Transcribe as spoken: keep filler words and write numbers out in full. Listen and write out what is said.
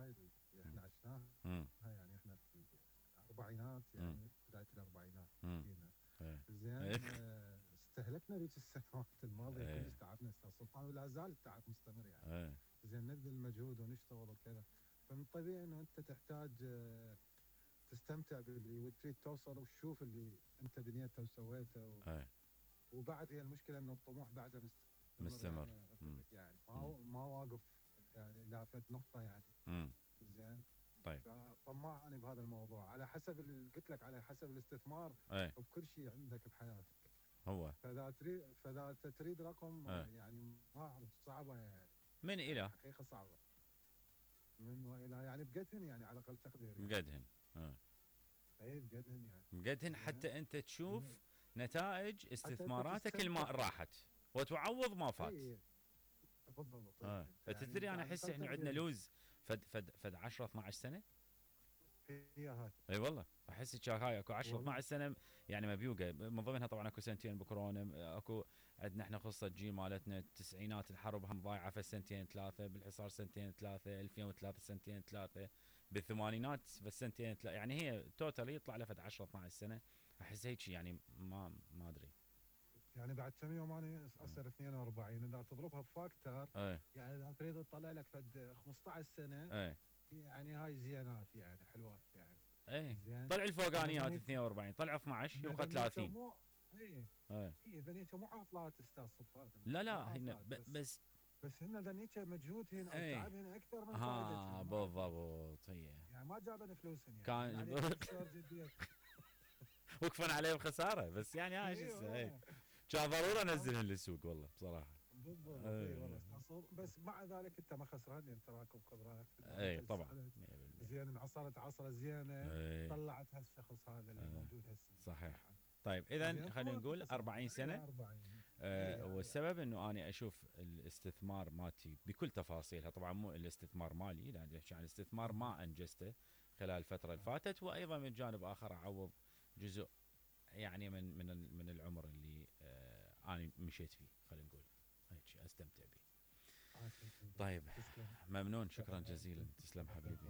هاي اللي احنا عشناها امم يعني احنا في الاربعينات يعني بدايه الاربعينات جينا ايه زين. ايه آه، استهلكنا ذيك السنوات الماضيه ايه كلش تعبنا استاذ سلطان ولا زال التعب مستمر يعني. ايه زين نبذل مجهود ونشتغل وكذا، فمن الطبيعي انه انت تحتاج آه، تستمتع باللي وتريد توصل وتشوف اللي انت بنيته وسويته و... ايه وبعد هي المشكله انه الطموح بعده مستمر مستمر. يعني مم. يعني ما هو ما واقف يعني لا فد نقطه يعني. امم زين. طيب. فطماع انا بهذا الموضوع على حسب اللي قلت لك على حسب الاستثمار ايه بكل شيء عندك بحياتك. هو فاذا تريد فاذا تريد رقم ايه يعني ما اعرف صعبه يعني. من يعني الى حقيقه صعبه من والى يعني بقدهن يعني على اقل تقدير يعني. مقدهن. اه اي بقدهن يعني مقدهن حتى انت تشوف نتائج حتى انت استثماراتك اللي تستمتع. ما راحت وتعوض ما فات. اي بالضبط. اه انت فتدري يعني انا على احس اقل احنا عندنا تقدير لوز فد فد فد عشرة اثناعش سنه. هي هاي اي والله احس هاي اكو عشرة والله. اثناعش سنه يعني مبيوقه، من ضمنها طبعا اكو سنتين بكورونا، اكو عندنا احنا قصه جيل مالتنا التسعينات الحرب هم ضايعه في سنتين ثلاثه، بالحصار سنتين ثلاثه، ألفين وثلاثة سنتين ثلاثه، بالثمانينات بس سنتين ثلاثه، يعني هي توتال يطلع له فد عشرة اثناعش سنه. احس هيك يعني ما ما ادري. يعني بعد كم يوم انا اصير اثنين وأربعين اذا تضربها بفاكتور ايه يعني اذا تريد تطلع لك فد خمسطعش سنه ايه يعني هاي زينات يعني حلوات يعني. ايه زين. طلع الفوقانيات إذا اثنين وأربعين، طلع اثناعش إذا يبقى بنيته ثلاثين. مو اي ايه اي بنيته مو عطلات استاذ سلطان. لا مو لا هنا عطلات ب- بس بس بس هن ذنيته مجهودهن او ايه تعبهن اكثر من فائدتهن. ها ما بالضبط هي يعني ما جابن فلوسهن يعني من كان عليك تشتغل جديا. وقفا عليه بخساره، بس يعني هاي شو اي اسمه ايه والله. كان ضروري انزلهن للسوق والله بصراحه. بالضبط اي والله ايه, استاذ. بس مع ذلك انت ما خسران لان تراكم خبرات. ايه طبعا مية بالمية. زين انعصرت عصره زينه ايه طلعت هالشخص هذا اللي ايه موجود هسه. صحيح. طيب اذا خلينا نقول أربعين سنه. آه والسبب انه انا اشوف الاستثمار مالتي بكل تفاصيلها، طبعا مو الاستثمار مالي، لا نحكي عن استثمار ما انجزته خلال الفتره اللي فاتت، وايضا من جانب اخر اعوض جزء يعني من من من العمر اللي آه انا مشيت فيه، خلينا نقول هيك استمتع به. طيب ممنون، شكرا جزيلا، تسلم حبيبي.